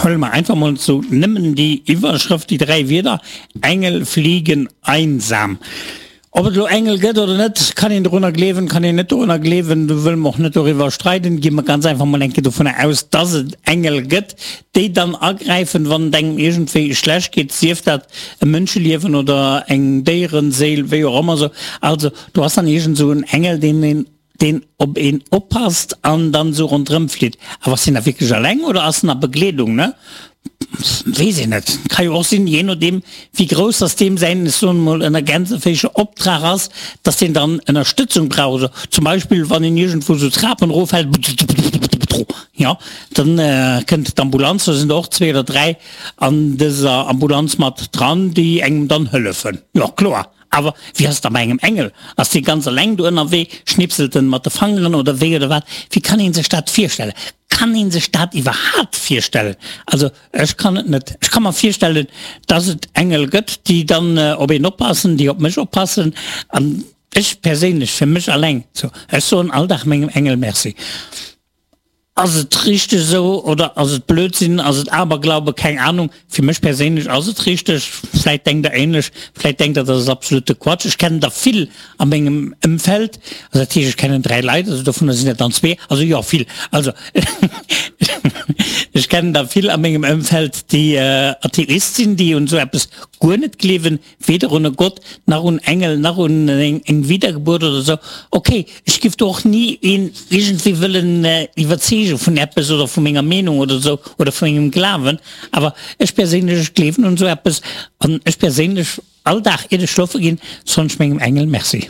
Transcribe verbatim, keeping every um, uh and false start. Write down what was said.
Huele mer einfach mol sou nëmmen déi Iwwerschrëft, déi dräi Wierder, Engel fliegen einsam. Ob et elo Engel gëtt oder net, kann een dorunner gleewen, kann een net dorunner gleewen, do wëlle mer och net doriwwer streiden. Gi mer ganz einfach mol eng Kéier dovunner aus, dass et Engel gëtt, déi dann agräifen, wann et engem iergendwéi schlecht geet, sief dat e Mënscheliewen oder eng Déierenséil, wéi och ëmmer sou. Also do ass dann iergend esou en Engel, deen een deen op een oppasst an dann esou ronderëm flitt. Awer ass deen da wierklech alleng oder ass en a Begleedung, ne? Weess een net. Ka jo och sinn, jee nodeem wéi grouss dass deem säin, ech soen emol ënner Gänseféischer, Optrag ass, dass deen dann Ënnerstëtzung brauch. Also zum Beispill wann een iergendwou esou Trapen eroffält, jo, dann kënnt d'Ambulanz, do sinn der och zwee oder dräi an dëser Ambulanz mat dran, déi engem dann hëllefen. Jo, kloer. Awer wéi ass et da bei engem Engel? Ass dee ganz eleng do ënnerwee, schnipselt en mat de Fangeren oder wéi oder wat? Wéi kann een sech dat virstellen? Kann een sech dat iwwerhaapt virstellen? Also ech kann et net. Ech ka mer virstellen, dass et Engel gëtt, déi dann op een oppassen, déi op mech oppassen. An ech perséinlech, fir mech eleng, ech soen all Dag mengem Engel Merci. Ass et richteg esou oder ass et Blödsinn, ass et Aberglaube, keng Ahnung. Fir mech perséinlech ass et richteg, vläit denkt der ähnlech, vläit denkt der, dat ass absolute Quatsch. Ech kennen der vill a mengem Ëmfeld, also dat heescht ech kennen dräi Leit, also dovunner sinn et dann zwee, also jo vill, also ech kennen der vill a mengem Ëmfeld déi Atheist sinn, déi un esou eppes guer net gleewen, weder un e Gott, nach un Engel, nach un eng Wiedergeburt oder esou. Ok, ech giff do och ni een iergendwéi wëllen iwwerzeege vun eppes oder vu menger Meenung oder esou oder vu mengem Glawen, awer ech perséinlech, ech gleewen un esou eppes an ech perséinlech, all Dag iert ech schlofe ginn, soen ech mengem Engel Merci.